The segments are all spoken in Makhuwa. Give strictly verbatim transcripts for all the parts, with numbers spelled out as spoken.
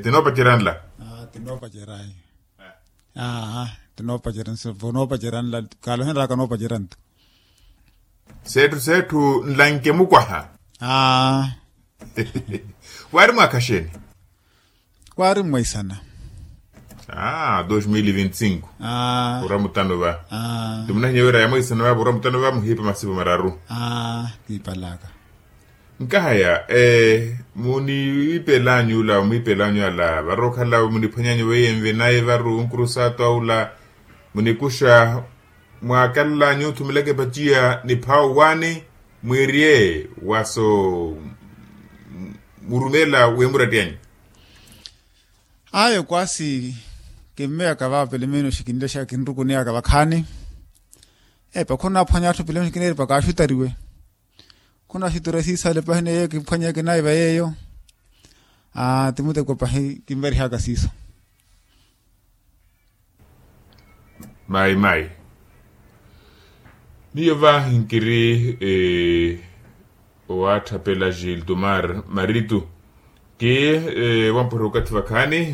Tinoopacerya nla. Tinoopacerya. Aa, tinoopacerya nla. Kaalo henraka noopacerya nto. Seetthu seetthu nlanke mukwaha. Aa. Waari mwaakha xeeni? Waari mwaisana. Aa, dos mil vinti cinco. Aa. Ura mutano va. Aa. Timunahinya wira ya mwaisana va ura mutano va muhiipa masipu mararu. Aa, kiipalaka. Nkahaya muniipela anyula omwiipela anyula, varokhala muniphwanya anyu weiye nvinaye varu nkurusaatu aula. Munikuxa mwakalanyu thumelaka epaciya niphawa owaani mwiiriye waso murumela wemuratyanyu. Ayo kwasi kinmeyaka vaapele meenoxi kinlexaka kinrukuniyaka vakhaani. Epa khunaaphwanya atthu pele meenoxi kineeripa kaaxutariwe. Khunaaxutariwe siisale pahi neyo kiphwanyeke nayo vayeyo. Aa timuteko pahi kinvarihaka siiso. Mayi mayi. Miyo va nkiri owaatthapela giltomar maritu. Ti wamphwere okathi vakhaani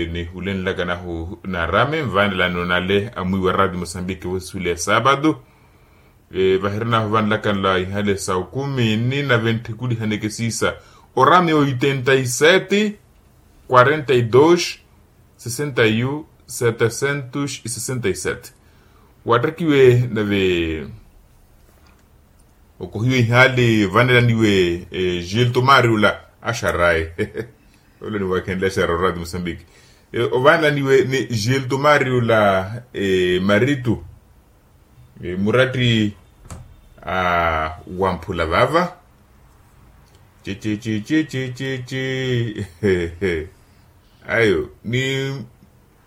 nihulenlaka nahu naarame nvaanelani onale amwiiwa radio mosambiki wesule ya saapatu. Vahirinahu vanlaka nla ihale sa okumi ni na ventthikulihaneke siisa. Orami oitenta y sete quarenta y dos sesenta y un setecentos y sesenta y sete. Wattakiwe nave okohiwe ihali vanelaniwe giltomari ula. Axaraye olo niwakhenle axara orati mosambiki. Ovanelaniwe ni giltomari ula maritu. Muratti wamphula vava. Cececececece. Ayo ni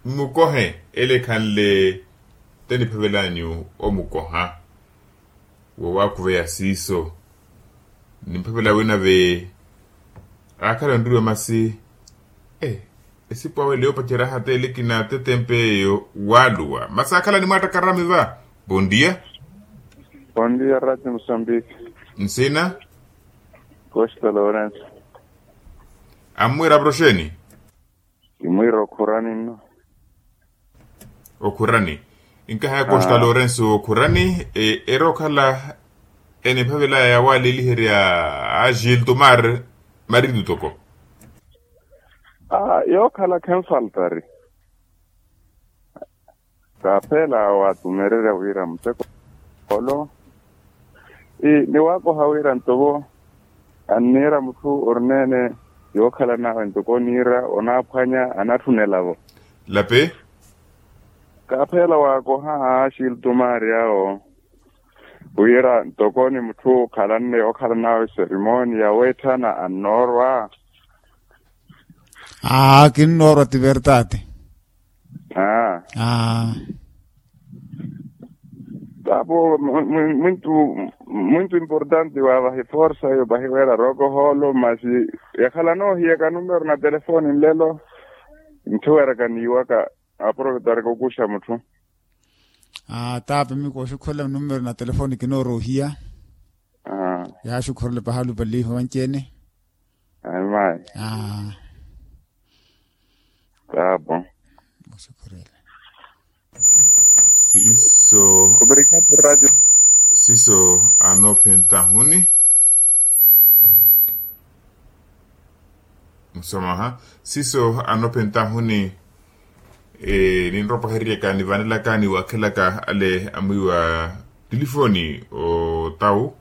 mmukohe ele ekhanle. Te niphavelanyu omukoha. Wowakhuveya siiso nimphavela winave. Akhala onriwa masi. Esipu awe leyo opacerya hata elekina tetempe eyo waluwa masi akhala nimwattakarami va. Bondia. Bondia rati mosambiki. Nsina. Costa lorenso. Ammwira proxeni. Kimwira okhurani nno. Okhurani. Nkahaya costa lorenso okhurani. Eri okhala enimphavelaya yawaleliherya a giltomar maritu toko. Yookhala khenfaltari. Kaaphela watumererya wira muteko olo. Niwakoha wira ntovo anniira mutthu orineene yookhala nawe ntoko oniira onaaphwanya anatthunelavo. Lapi. Kaaphela waakoha axiltumaari awo wira ntoko ni mutthu okhalanne yookhala nawe serimoni yaweetthana annoorwa. Aa kinnoorwa ti vertati. Aa. Tapo mwintu mwintu importante wa vahiforsa yo vahiwera rokoholo masi yakhala noohiyaka numero na telefoni nlelo. Ntthuweraka niiwaka aprovetaraka okuxa mutthu. Aa tapo mikooxukhurela numero na telefoni kinoorohiya. Yaaxukhurela pahalu paliho vanci-ene. Ayi mayi. Aa. Tapo. Siiso. Obrigado radio. Siiso anoophentahuni. Musamaha. Siiso anoophentahuni. Ninropaheryaka nivanelaka niwakhelaka ale amwiiwa tilifoni otau.